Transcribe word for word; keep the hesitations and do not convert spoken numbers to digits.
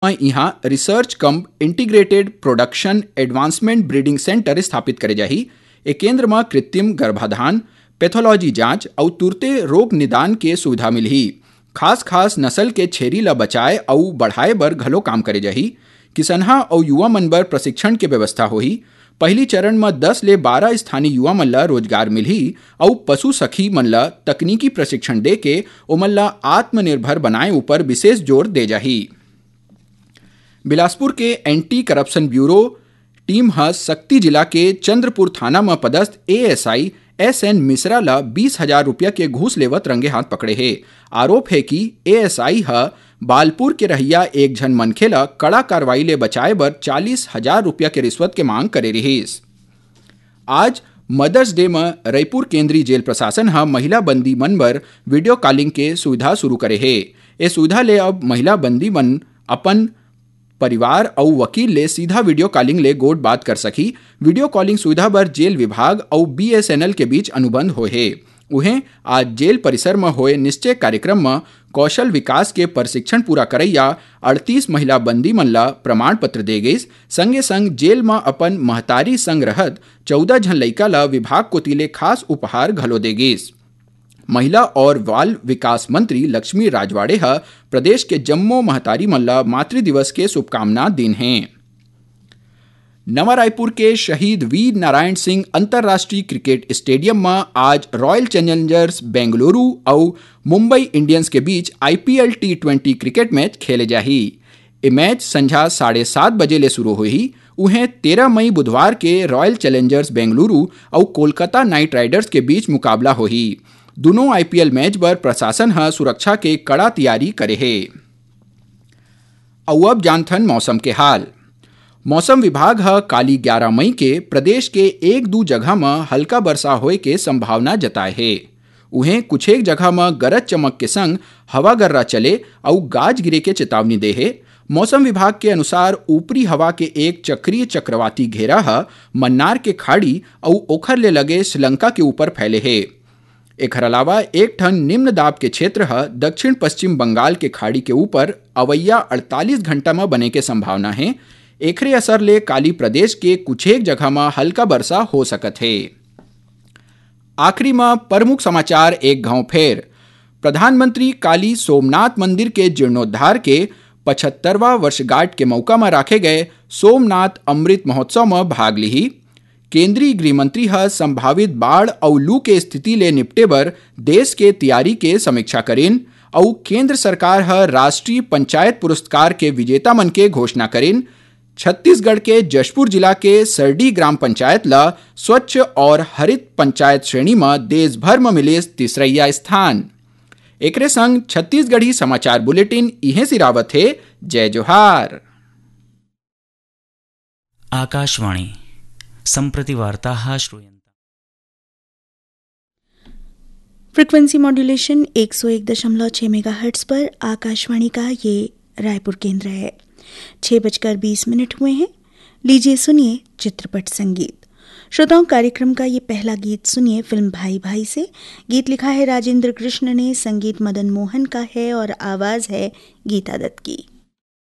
म इहाँ रिसर्च कम integrated production advancement breeding centre स्थापित करे जाही। ए केंद्र म कृत्रिम गर्भाधान, पैथोलॉजी जांच अउ तुरते रोग निदान के सुविधा मिलही। खास खास नस्ल के छेरी ल बचाए अउ बढ़ाए बर घलो काम करे जाही। किसनहा अउ युवा मन बर प्रशिक्षण के व्यवस्था होही। पहिली चरण म दस ले बारह स्थानीय युवा मन ल रोजगार मिलही अउ पशु सखी मन ल तकनीकी प्रशिक्षण देके ओमन ल आत्मनिर्भर बनाए ऊपर विशेष जोर दे जाही। बिलासपुर के एंटी करप्शन ब्यूरो टीम ह सक्ती जिला के चंद्रपुर थाना म पदस्थ एएसआई एसएन मिश्रा ल बीस हजार रुपया के घूस लेवत रंगे हाथ पकड़े हे। आरोप हे कि एएसआई ह बालपुर के रहइया एक झन मनखे ल कड़ा कार्रवाई ले बचाए बर चालीस हजार रुपया के रिश्वत के मांग करे रिहिस। आज मदर्स डे म रईपुर केंद्रीय जेल प्रशासन ह महिला बंदी मन बर वीडियो कॉलिंग के सुविधा शुरू करे हे। ए सुविधा ले अब महिला बंदी मन अपन परिवार अउ वकील ले सीधा वीडियो कॉलिंग ले गोठ बात कर सकही। वीडियो कॉलिंग सुविधा बर जेल विभाग अउ बीएसएनएल के बीच अनुबंध होए हे। उहें, आज जेल परिसर म होए निश्चय कार्यक्रम म कौशल विकास के प्रशिक्षण पूरा करइया अड़तीस महिला बंदी मन ल प्रमाण पत्र दे गइस। संगे संग जेल म अपन महतारी संग रहत चौदह झन लइका ल विभाग कोति ले खास उपहार घलो दे गइस। महिला और बाल विकास मंत्री लक्ष्मी राजवाड़े ह प्रदेश के जम्मो महतारी मन ल मातृ दिवस के शुभकामना दीन हे। नवा रायपुर के शहीद वीर नारायण सिंह अंतर्राष्ट्रीय क्रिकेट स्टेडियम म आज रॉयल चैलेंजर्स बेंगलुरु अउ मुंबई इंडियंस के बीच IPL T twenty cricket match खेले जाही। ए मैच संझा साढ़े सात बजे ले शुरू होही। उहें, तेरह मई बुधवार के रॉयल चैलेंजर्स बेंगलुरु अउ कोलकाता नाइट राइडर्स के बीच मुकाबला होही। दुनों आईपीएल मैच बर प्रशासन ह सुरक्षा के कड़ा तैयारी करे हे। अउ अब जानथन मौसम के हाल। मौसम विभाग ह काली ग्यारह मई के प्रदेश के एक दू जगह म हल्का बरसा होए के संभावना जताए हे। उहें, कुछेक जगह म गरज चमक के संग हवा गर्रा चले अउ गाज गिरे के चेतावनी दे हे। मौसम विभाग के अनुसार, ऊपरी हवा के एक चक्रीय चक्रवाती घेरा ह मन्नार के खाड़ी अउ ओखर ले लगे श्रीलंका के ऊपर फैले हे। एखर अलावा, एक ठन निम्न दाब के क्षेत्र ह दक्षिण पश्चिम बंगाल के खाड़ी के ऊपर अवइया अड़तालीस घंटा म बने के संभावना हे। एखरे असर ले काली प्रदेश के कुछेक जगह म हल्का बरसा हो सकत हे। आखिरी म प्रमुख समाचार एक घांव फेर। प्रधानमंत्री काली सोमनाथ मंदिर के जीर्णोद्धार के पचहत्तरवां वर्षगांठ के मउका म राखे गए सोमनाथ अमृत महोत्सव म भाग लिही। केंद्रीय गृह मंत्री ह संभावित बाढ़ अउ लू के स्थिति ले निपटे बर देश के तैयारी के समीक्षा करिन अउ केंद्र सरकार ह राष्ट्रीय पंचायत पुरस्कार के विजेता मन के घोषणा करिन। छत्तीसगढ़ के जशपुर जिला के सरडी ग्राम पंचायत ल स्वच्छ और हरित पंचायत श्रेणी म देश भर म मिलिस तीसरइया स्थान। एकरे संग छत्तीसगढ़ी समाचार बुलेटिन इहें सिरावत हे। जय जोहार। आकाशवाणी। सम्प्रति वार्ताः श्रूयन्ताम्। फ्रीक्वेंसी मॉड्यूलेशन एक सौ एक दशमलव छह मेगाहर्ट्ज पर आकाशवाणी का ये रायपुर केंद्र है। छः बजकर बीस मिनट हुए हैं। लीजिए, सुनिए चित्रपट संगीत। श्रोताओं, कार्यक्रम का ये पहला गीत सुनिए फिल्म भाई भाई से। गीत लिखा है राजेंद्र कृष्ण ने, संगीत मदन मोहन का है और आवाज़ है गीता दत्त की।